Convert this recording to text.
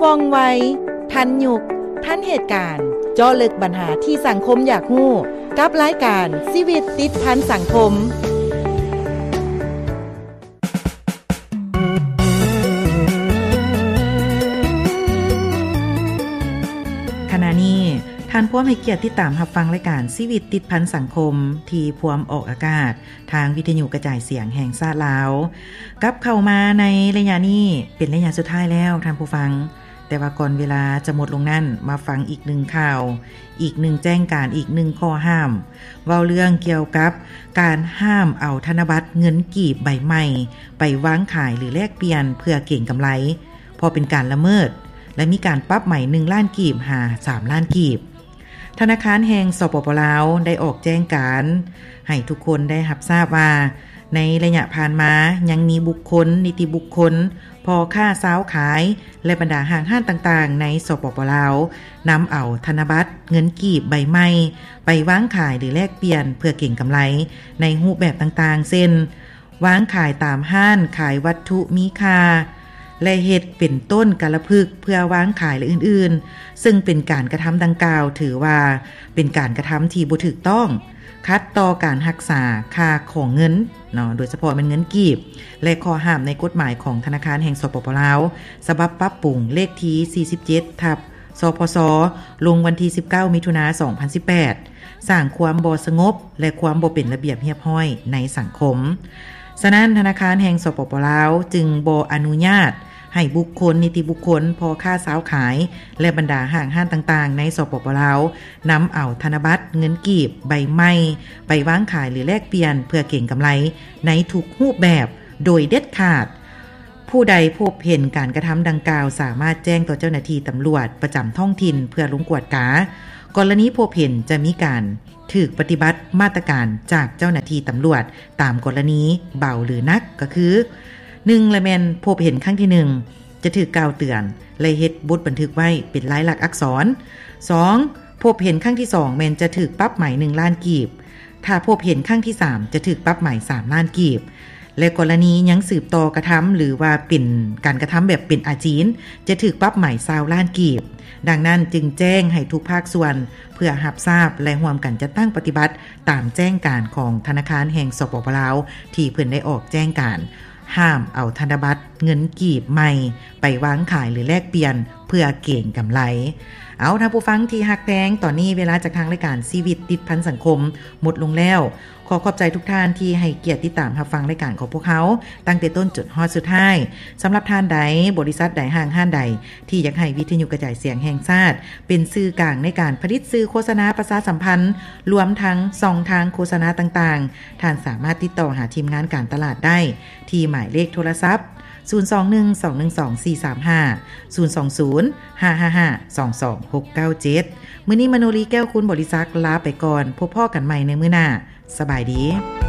ວ່ອງໄວ, ທັນຍຸກ, ທັນເຫດການ, ເຈາະເລິກບັນຫາທີ່ສັງຄົມຢາກຮູ້ ກັບລາຍການຊີວິດຕິດພັນສັງຄົມ. ຂະນະນີ້ ທ່ານພວມໃຫ້ກຽດຕິດຕາມຮັບຟັງລາຍການຊີວິດຕິດພັນສັງຄົມ ທີ່ພວມອອກອາກາດ ທາງວິທະຍຸກະຈາຍສຽງແຫ່ງຊາດລາວ. ກັບເຂົ້າມາໃນໄລຍະນີ້ ເປັນໄລຍະສຸດທ້າຍແລ້ວທ່ານຜູ້ຟັງ, ແຕ່ວ່າກ່ອນເວລາຈະໝົດລົງນັ້ນ ມາຟັງອີກໜຶ່ງຂ່າວ, ອີກໜຶ່ງແຈ້ງການ, ອີກໜຶ່ງຂໍ້ຫ້າມ ເວົ້າເລື່ອງກ່ຽວກັບການຫ້າມເອົາທະນະບັດເງິນກີບໃບໃໝ່ໄປວາງຂາຍ ຫຼື ແລກປ່ຽນເພື່ອເກັງກຳໄລ, ເພາະເປັນການລະເມີດ ແລະ ມີການປັບໃໝໜຶ່ງລ້ານກີບຫາສາມລ້ານກີບ. ທະນາຄານແຫ່ງ ສປປ ລາວ ໄດ້ອອກແຈ້ງການໃຫ້ທຸກຄົນໄດ້ຮັບຊາບວ່າ ໃນໄລຍະຜ່ານມາ ຍັງມີບຸກຄົນ, ນິຕິບຸກຄົນ, ພໍ່ຄ້າຊາວຂາຍ ແລະ ບັນດາຫ້າງຮ້ານຕ່າງໆ ໃນ ສປປ ລາວ ນຳເອົາທະນະບັດເງິນກີບໃບໃໝ່ໄປວາງຂາຍ ຫຼື ແລກປ່ຽນເພື່ອເກັງກຳໄລ ໃນຮູບແບບຕ່າງໆ ເຊັ່ນ ວາງຂາຍຕາມຮ້ານຂາຍວັດຖຸມີຄ່າ ແລະ ເຮັດເປັນຕົ້ນກາລະພຶກເພື່ອວາງຂາຍ ແລະ ອື່ນໆ, ເຊິ່ງເປັນການກະທຳດັ່ງກ່າວ ຖືວ່າເປັນການກະທຳທີ່ບໍ່ຖືກຕ້ອງ, ຂັດຕໍ່ການຮັກສາຄ່າຂອງເງິນເນາະ, ໂດຍສະເພາະແມ່ນເງິນກີບ ແລະ ຂໍ້ຫ້າມໃນກົດໝາຍຂອງທະນາຄານແຫ່ງ ສປປ ລາວ ສະບັບປັບປຸງເລກທີສີ່ສິບເຈັດ ທັບ ສພສ ລົງວັນທີສິບເກົ້າ ມິຖຸນາ ສອງພັນສິບແປດ ສ້າງຄວາມບໍ່ສະຫງົບ ແລະ ຄວາມບໍ່ເປັນລະບຽບຮຽບຮ້ອຍໃນສັງຄົມ. ສະນັ້ນ, ທະນາຄານແຫ່ງ ສປປ ລາວ ຈຶ່ງບໍ່ອະນຸຍາດໃຫ້ບຸກຄົນ, ນິຕິບຸກຄົນ, ພໍ່ຄ້າຊາວຂາຍ ແລະ ບັນດາຫ້າງຮ້ານຕ່າງໆ ໃນ ສປປ ລາວ ນຳເອົາທະນະບັດເງິນກີບໃບໃໝ່ໄປວາງຂາຍ ຫຼື ແລກປ່ຽນເພື່ອເກັງກຳໄລໃນທຸກຮູບແບບໂດຍເດັດຂາດ. ຜູ້ໃດພົບເຫັນການກະທຳດັ່ງກ່າວ ສາມາດແຈ້ງຕໍ່ເຈົ້າໜ້າທີ່ຕຳຫຼວດປະຈຳທ້ອງຖິ່ນເພື່ອລົງກວດກາ. ກໍລະນີພົບເຫັນຈະມີການຖືກປະຕິບັດມາດຕະການຈາກເຈົ້າໜ້າທີ່ຕຳຫຼວດຕາມກໍລະນີເບົາ ຫຼື ໜັກ ກໍຄື ໜຶ່ງ ລະແມ່ນພົບເຫັນຄັ້ງທີໜຶ່ງ ຈະຖືກກ່າວເຕືອນ ແລະ ເຮັດບົດບັນທຶກໄວ້ເປັນລາຍລັກອັກສອນ. ສອງ ພົບເຫັນຄັ້ງທີສອງ ແມ່ນຈະຖືກປັບໃໝໜຶ່ງລ້ານກີບ. ຖ້າພົບເຫັນຄັ້ງທີສາມ ຈະຖືກປັບໃໝສາມລ້ານກີບ ແລະ ກໍລະນີຍັງສືບຕໍ່ກະທຳ ຫຼືວ່າເປັນການກະທຳແບບເປັນອາຈີນ ຈະຖືກປັບໃໝຊາວລ້ານກີບ. ດັ່ງນັ້ນຈຶ່ງແຈ້ງໃຫ້ທຸກພາກສ່ວນເພື່ອຮັບຊາບ ແລະ ຮ່ວມກັນຈັດຕັ້ງປະຕິບັດຕາມແຈ້ງການຂອງທະນາຄານແຫ່ງ ສປປ ລາວ ທີ່ເພິ່ນໄດ້ອອກແຈ້ງການ ຫ້າມເອົາທະນະບັດເງິນກີບໃໝ່ໄປວາງຂາຍ ຫຼື ແລກປ່ຽນເພື່ອເກັງກຳໄລ. ເອົາ ທ່ານຜູ້ຟັງທີ່ຮັກແພງ, ຕອນນີ້ເວລາຈາກທາງລາຍການຊີວິດຕິດພັນສັງຄົມໝົດລົງແລ້ວ. ຂໍຂອບໃຈທຸກທ່ານທີ່ໃຫ້ກຽດຕິດຕາມຮັບຟັງລາຍການຂອງພວກເຮົາ ຕັ້ງແຕ່ຕົ້ນຈົນຮອດສຸດທ້າຍ. ສຳລັບທ່ານໃດ, ບໍລິສັດໃດ, ຫ້າງຮ້ານໃດ ທີ່ຢາກໃຫ້ວິທະຍຸກະຈາຍສຽງແຫ່ງຊາດ ເປັນສື່ກາງໃນການຜະລິດສື່ໂຄສະນາປະຊາສຳພັນ ລວມທັງຊ່ອງທາງໂຄສະນາຕ່າງໆ, ທ່ານສາມາດຕິດຕໍ່ຫາທີມງານການຕະຫຼາດໄດ້ທີ່ໝາຍເລກໂທລະສັບ ສູນສອງໜຶ່ງ ສອງໜຶ່ງສອງ ສີ່ສາມຫ້າ ສູນສອງສູນ ຫ້າຫ້າຫ້າ ສອງສອງຫົກເກົ້າເຈັດ. ມື້ນີ້ມະໂນລີ ແກ້ວຄູນບໍລິສັກ ລາໄປກ່ອນ. ພົບພໍ້ກັນໃໝ່ໃນມື້ໜ້າ. ສະບາຍດີ.